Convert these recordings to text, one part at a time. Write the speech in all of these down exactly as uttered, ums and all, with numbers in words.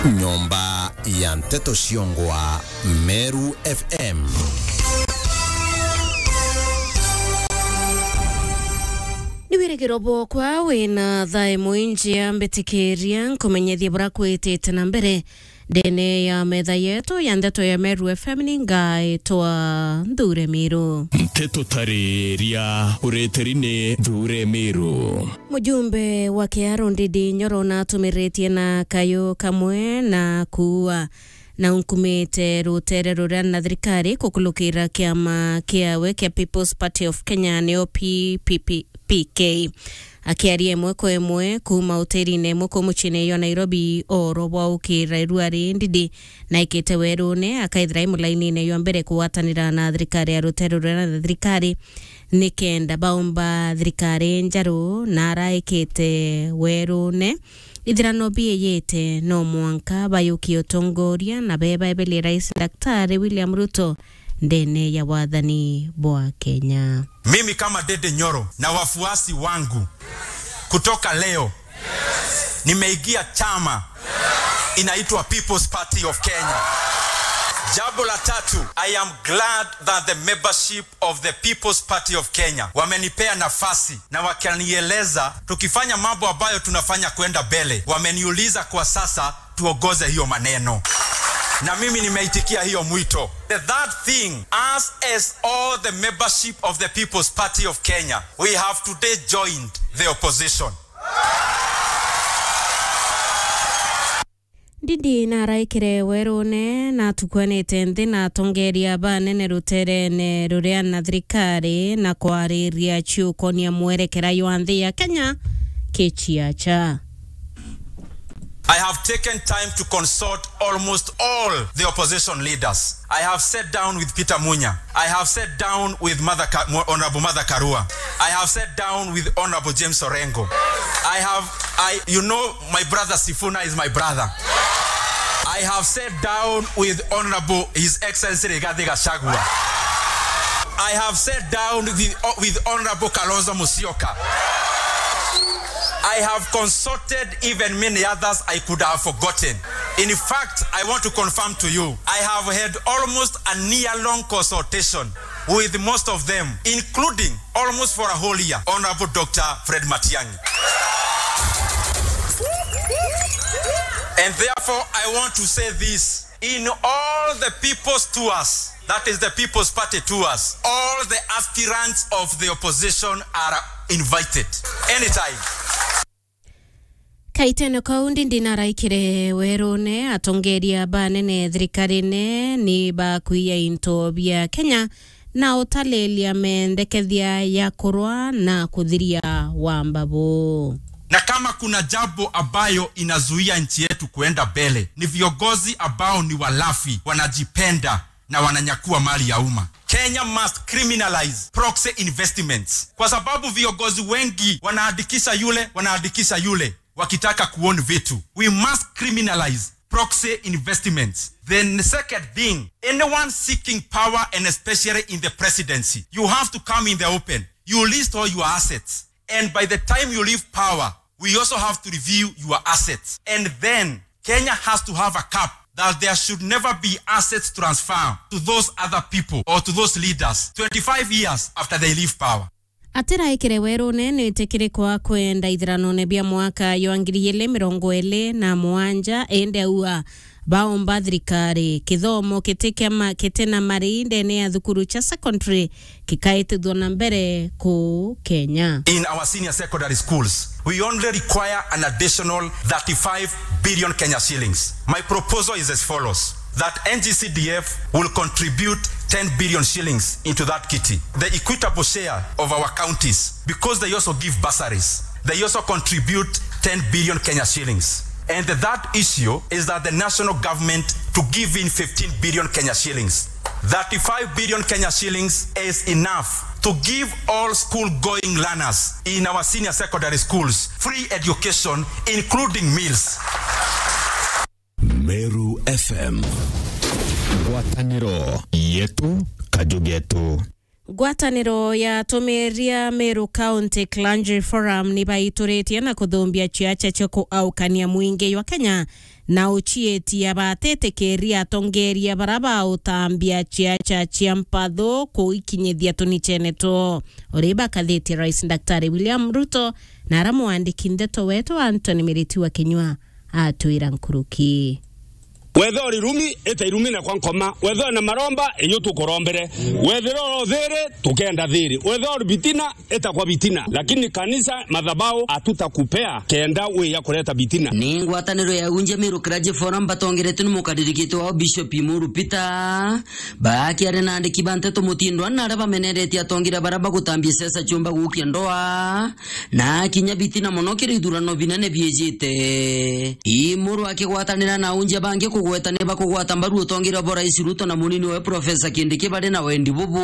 Nyomba ya nteto ciongwa Meru F M. Ni wirigiro bwokwa wina thaa imwe injia, mbitikiria nkumenyethie bura kwitite na mbere ndene ya metha yetu ya nteto ya Meru F M. Ni ngaitwa Nthure Miru. Nteto tariria ureteri ni Nthure Miru. Mujumbe wa Kiaro Ndindi Nyoro natumiritie na kayu kamwe na kuua na unkumite rutere ruria na thirikari kukulukira kiama kiawe kia People's Party of Kenya, nio P P P K. Akiaria imwe kwa imwe kuuma hotelini imwe kuu muciini jwa Nairobi, oro bwa ukira irua ri Ndindi naikite werune, akaithira i mulainine jwa mbere kugwatanira na thirikari ya rutere ruria na thirikari nikenda baumba thirikari njeru, na araikite werune. Ithirano biiyite, no mwanka bayukie utongoria na bebaebelie Rais Daktari William Ruto ndene ya wathani bwa Kenya. Mimi kama Ndindi Nyoro na wafuasi wangu, kutoka leo nimeingia chama inaitwa People's Party of Kenya. Jambo la tatu, I am glad that the membership of the People's Party of Kenya wamenipea nafasi na wakanieleza tukifanya mambo ambayo tunafanya kwenda mbele. Wameniuliza kwa sasa tuongoze hiyo maneno, na mimi nimeitikia hiyo mwito. The third thing, us as all the membership of the People's Party of Kenya, we have today joined the opposition. Ndindi naraikire werune na atukwanite nthi na atongeria banene ruterene ruria na thirikari na kwariria ciukonia mwerekera jwa nthi ya Kenya kiciacha. I have taken time to consult almost all the opposition leaders. I have sat down with Peter Munya. I have sat down with Martha Ka-, Mo-, Honorable Martha Karua. I have sat down with Honorable James Orengo. I have, I, you know, my brother Sifuna is my brother. I have sat down with Honorable His Excellency Rigathi Gachagua. I have sat down with, with Honorable Kalonzo Musyoka. I have consulted even many others I could have forgotten. In fact, I want to confirm to you, I have had almost a year-long consultation with most of them, including almost for a whole year, Honorable Doctor Fred Matiang'i. And therefore, I want to say this, in all the people's tours, that is the People's Party tours, all the aspirants of the opposition are invited anytime. Kaitene kau, Ndindi naraikire werune, atongeria banene thirikarine ni bakuiya into bia Kenya na utalilia mendekethia ya kurwa na kuthiria wa mbabu. Na kama kuna jambo ambayo inazuia nchi yetu kuenda mbele, ni viongozi ambao ni walafi, wanajipenda na wananyakua mali ya umma. Kenya must criminalize proxy investments, kwa sababu viongozi wengi wanaandikisha yule, wanaandikisha yule, wakitaka kuown vitu. We must criminalize proxy investments. Then the second thing, anyone seeking power, and especially in the presidency, you have to come in the open. You list all your assets. And by the time you leave power, we also have to review your assets. And then Kenya has to have a cap that there should never be assets transfer to those other people or to those leaders twenty-five years after they leave power. Atiraikire werune nitikirikwa kwenda ithiranone bia mwaka jwa ngiri igiri mirongo iri na mugwanja, indi aua baomba thirikari kithomo kiti kia ma-, kiti na mari ndene ya thukuru cia secondary kikaitithwa na mbere kuu Kenya. In our senior secondary schools, we only require an additional thirty-five billion Kenya shillings. My proposal is as follows, that N G C D F will contribute ten billion shillings into that kitty. The equitable share of our counties, because they also give bursaries, they also contribute ten billion Kenya shillings. And the third issue is that the national government to give in fifteen billion Kenya shillings. Thirty-five billion Kenya shillings is enough to give all school-going learners in our senior secondary schools free education, including meals. Meru F M. Ngwataniro yetu, kaju getu. Ngwataniro ya atumiria Meru County Clergy Forum ni baituritie na kuthumbia ciaca cia kuaukania mwingi jwa Kenya na uciitia batitikiria atongeria bara bautambia ciaca cia mpathu kuikinyithia tunicene two. Uri bakathitie Rais Daktari William Ruto na ara mwandiki ndeto wetu Anthony Miriti wa Kinyua atwira nkuruki. Wethira uri irumi, ita irumi na kwa nkoma. Wethira na maromba, iyo tukurombere. Wethira uri thiri, tukenda thiri. Wethira uri bitina, ita kwa bitina. Lakini kanisa, madhabahu, hatutakupea kenda wia kureta bitina. Ni ngwataniro ya unjia Meru Clergy Forum batongeretwe ni mukaririkite wao Bishop Imuru Peter. Bakiaria na andiki ba nteto mutindwa na aria bameneretie atongeria bara bagutambia siasa ciumba gukia ndoa. Na kinya bitina mono kiri ithurano binene biijite. Imuru akigwatanira na aunjia bangi kugweta ni bakugwata mbaru utongeria bwa Rais Ruto na munini we Professor Kindiki bari na wendi bubu.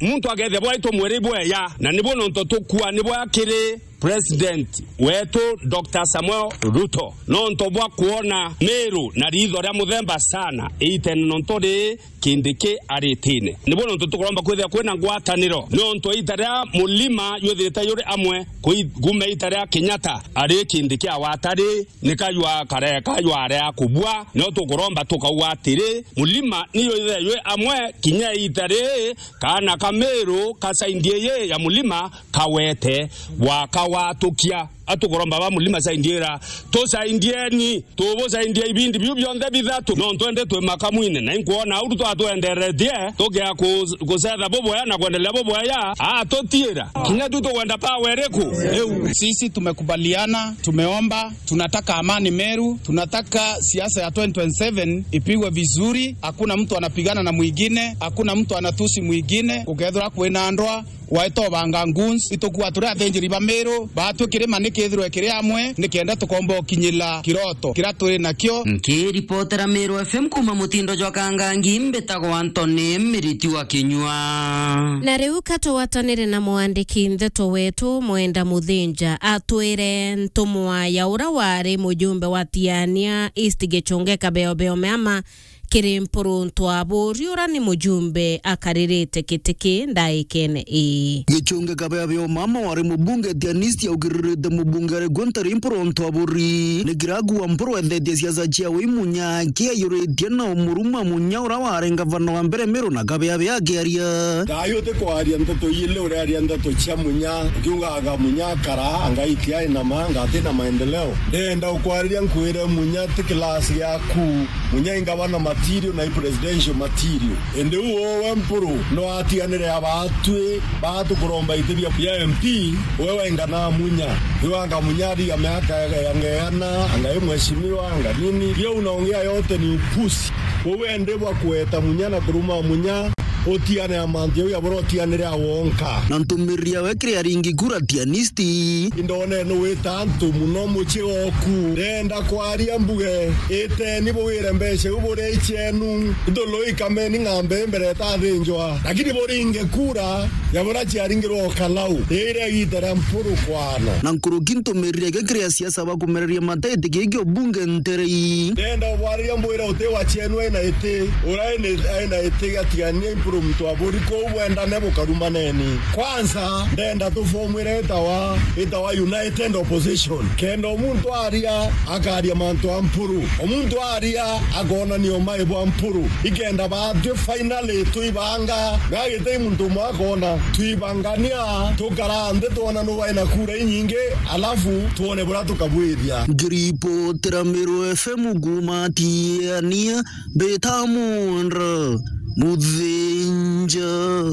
Muntu akethia bwaitwa mwiri bweya, na nibo nonto tukua nibo akiri President wetu Doctor Samuel Ruto. Nonto bwa kuona Meru na ritho ria muthemba sana, itene nonto ri Kindiki aritine. Nibo nontu tukuromba kwithira kwina ngwataniro. Nontu ita ria Mulima jwithirite juri amwe kui-, kuuma ita ria Kenyatta ari Kindiki awatari, ni kajwa kare kajwa aria kubua. No tukuromba tukauga atiri, Mulima ni jwithire jwi amwe kinya ita ri kaana ka Meru kasaindie yi ya Mulima kawete gwaka watukia. Atukuromba ba Mulima saindiera, tusaindieni. Tubusaindia ibindi biu bionthe bithatu, no twende twi makamwine, na inkwona au twatwenderetie, tukia ku-, kucetha bubwea na kwendelea bubwea, atutiira. Kinya tu tukwenda power iriku? Iu. Sisi tumekubaliana, tumeomba, tunataka amani Meru, tunataka siasa ya twenty twenty-seven ipigwe vizuri, hakuna mtu anapigana na mwingine, hakuna mtu anatusi mwingine, gukethirwa kwina ndoa, waeta ubanga goons, itukua turi athinjiri ba Meru, baatwi kirima nikithirwe kiri amwe, nikenda tukomba ukinyira kiroto kiria turi nakio. Nkiripotera Meru F M kuuma mutindo jwa Kangangi, mbitagwa Anthony Miriti wa Kinyua. Na riu ka tugwatanire na mwandiki ndeto wetu Mwenda Muthinja, atwire ntumwa ya ura wari mujumbe wa Tiania East Gichunge Kabeobeo Meama, kiri Mpuru Ntwaburi, ura ni mujumbe akaririte giti ki ndaikene ii. Gichunge Kabeobeo Meama wari mubunge Tiania East augiririte mubunge ari gwe ntari Mpuru Ntwaburi. Ni kiragu wa Mpuru ethetie siasa ciawe imunya kiayuritie na umuruma munya ura wari ngavana wa mbere Meru na Kabeobeo akiaria. Thayu utikwaria ndeto ili uraria ndeto cia munya, ukiugaga munya akara, anga itia ina ma, anga atina maendeleo. Ndenda ukwariria nkwire munya ti class yaku. Munya ingabana material na i presidential material. Indi u uwe Mpuru no atiganire abatwi batukuromba iti bia, bia M P, uwe waingana munya. Iwanga munya ari ya miaka ya ngeana, anga i mheshimiwa, anga nini. Hiyo unaongea yote ni upusi. Uwe ndi bwa kueta munya na kuruma munya, utiane amanthi au yabura utianire awonka. Na ntumiriri yawe kiri aringi kura Tiania East. Indone nuwita antu muno mucii oku. Ndenda kwaria mbuge, iteni buwire mbeca iu buria icienu. Ithulu ikameni ng'ambe mbere itathinjwa. Lakini buringe kura ya buria ciaringirwe o Kalau. Iria igita ria Mpuru kwana. Na nkuruki ntumiriri yake kiri asiasa bakumereria mata giti giki o bunge nterei. Ndenda ubwariria mbwire uti wa cienu aina iti. Uria aina, aina iti gatigania Mpuru Ntwaburi kuu bwendane bukarumaneni. Kwanza, ndenda tufomwire itawa, itawa United Opposition. Kenda o muntu aria, akaria mantu a Mpuru. O muntu aria, akonania umai bwa Mpuru. Ikenda batwi finally tuibanga. Gagitei muntu umwe akona. Tuibangania, tukara nthi twona nu waina kura inyingi, alafu twone buria tukabwithia. Ngiripotera Meru F M kuuma Tiania, mbita Mwenda Muthinja.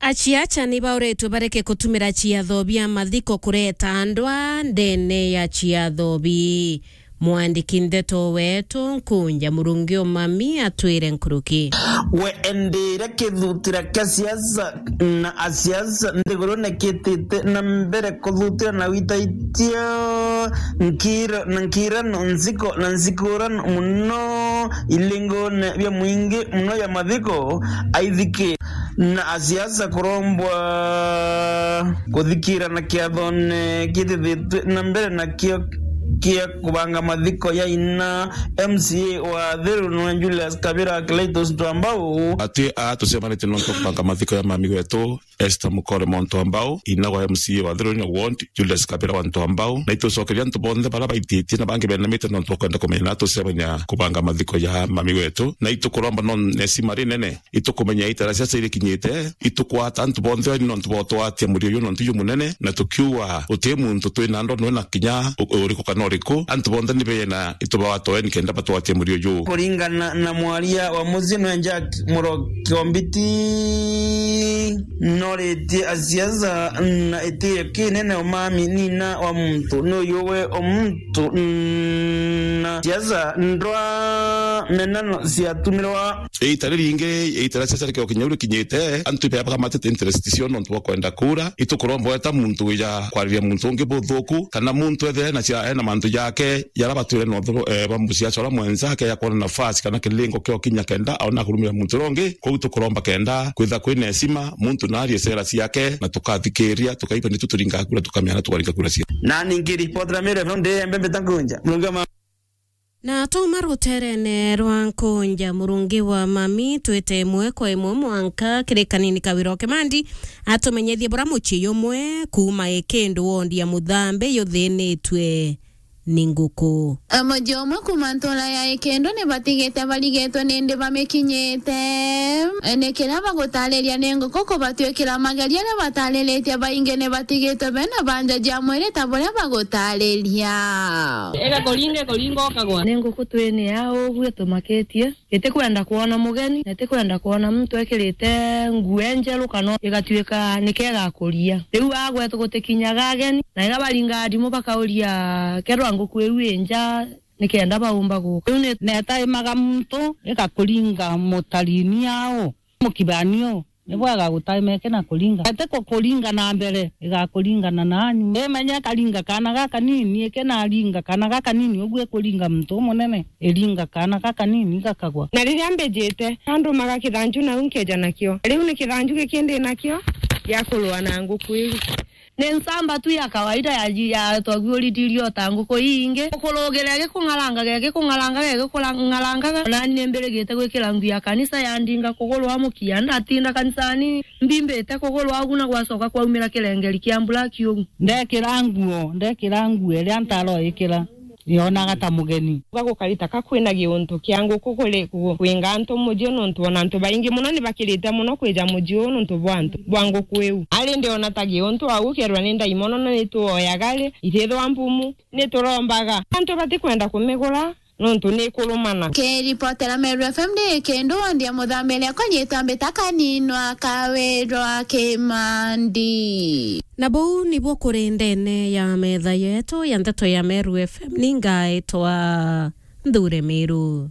Aciaca ni bauritwe bareke kutumira ciatho bia mathiko kureta ndwaa ndene ya ciatho bii. Mwandiki ndeto wetu Nkunja Murungi Umami atwire nkuruki. We endire kithutira kia siasa na asiasa nthigurune kitite na mbere kuthutira na witaitio nkira na nkirano nziko na nzikurano muno ilingone bia mwingi muno ya mathiko aithiki na asiasa kurombwa kuthikira na kiathone kithithitwe na mbere nakio kia kubanga mathiko ya ina M C A wa Thiru nwe Julius Kabira Cletus Ntwambau. Atwi aa tucemanitie nontu bwa kubanga mathiko ya mami wetu Esther Mukore Muntu Ambau, ina wa M C A wa Thiru na ward, Julius Kabira wa Ntwambau. Na itucokeria antu bonthe bara baititie na bangi benamite nontu bwa kwenda kumenya na tucemania kubanga mathiko ya mami wetu. Na itukuromba no nesima rinene. Itukumenya itara cia cia irikinyite, itukwata antu bonthe ni nontu bwa utwatia murio uyu nontu ju munene, na tukiuga uti muntu twina ndo nwe na kinya u-, uriku kana uriku, antu bonthe ni bena itubawatoe ni kenda batwatie murio uyu. Kuringana na mwaria wa mucii nwe Jack Muroki Ombiti, noritie asiasa na itio kinene umami nina wa muntu ni uyu we umuntu na siasa ndwa menano ciatumirwa. Iita riringi, iita ria siasa rikio kinya rikinyite, antu ibe bakamatite interest cio nontu bwa kwenda kura. Itukuromba weta muntu wija kwariria muntu ungi buthuku, kana muntu ethire ena cia, ena mantu jake jara batwire na uthuru, eh, bwa musiasa uria mwenzake ya kwona nafasi kana kilingo kio kinya kenda aona kurumira muntu uria ungi. Kwou tukuromba kenda kwitha kwina heshima, muntu na arie sera ciake, na tukathikiria, tukaigua nitu turinga kura, tukamenya na tukaringa kura cia. Na ningi ripoti ra Meru F M ndi Embe Mbita Nkunja. Murungi wa ma- Na twauma ruterene rwa Nkunja, Murungi wa Mami, twite imwe kwa imwe mwanka kiri kanini Kawira o Kimandi atumenyethie bura mucii jumwe kuuma Ikindu wondi ya Muthambe juthinitue ni nguku. Mucii jumwe kuuma ntura ya Ikindu ni batigite barigetwe nindi bamikinyite. Ni kiria bagutariria ni nguku kubatwikira mageria aria batariritie baingi ni batigitwe bena banja ja mwiri ta buria bagutariria. Ega kuringa, kuringa ukagwa. Ni nguku twini ya uguo tumakitie. Itikwenda kwona mugeni, na itikwenda kwona muntu ekirite nguo njeru kana igatuika nike igakuria. Riu agwetu gutikinyaga ageni, na iria baringaga ndimu bakauria kethirwa nguku iu i nja, nikenda baumba guka. Riu ni- netaimaga muntu igakuringa mutarini au, mukibani u. Ni bwega gutaima eke na kuringa. Ete kukuringa na mbere, igakuringana nanyu. Imenye ikaringa kaana gakanini, eke naringa kaana gakanini, uguo ikuringa muntu umunene, iringa kaana gakanini gakagwa. Na riria mbijite, andumaga kithanju nau nkeja nakio. Riu ni kithanju giki ndi nakio gia kurua na nguku iu. Ni nsamba tu ya kawaida ya, ya twaguurithirue o ta nguku iingi. Gukurugire gikung'arangaga, gikung'arangaga, gikung'arangaga. Nani ni mbirigite gwikira nguo ya kanisa yandinga kugurwa mukia. Ndatinda kanisani, mbimbite kugurwa ugu na gwacoka kwaumira kirengeri kia mbura kiugu. Ndekira nguo, ndekira nguo iria ntaroikira. Yonaga ta mugeni. Uga gukari ta ka kwina giuntu kia nguku kuri ku-, kwinga antu mucii nontu ona antu baingi mono ni bakirite mono kwija mucii uu nontu bwa antu, bwa nguku iu. Ari ndiona ta giuntu au kerwa ni ndaimono na ni tuoyaga ri, itithwa mpumu, ni turombaga. Antu batikwenda kumigura nontu ni ikurumana. Kiripotera Meru F M ndi Ikindu wondi ya Muthambe, riakwa nyitwa Mbita Kaninwa Kawirwa Kimandi. Na buu nibuo kuri ndene ya metha yetu ya nteto ya Meru F M, ni ngaitwa Nthure Miru.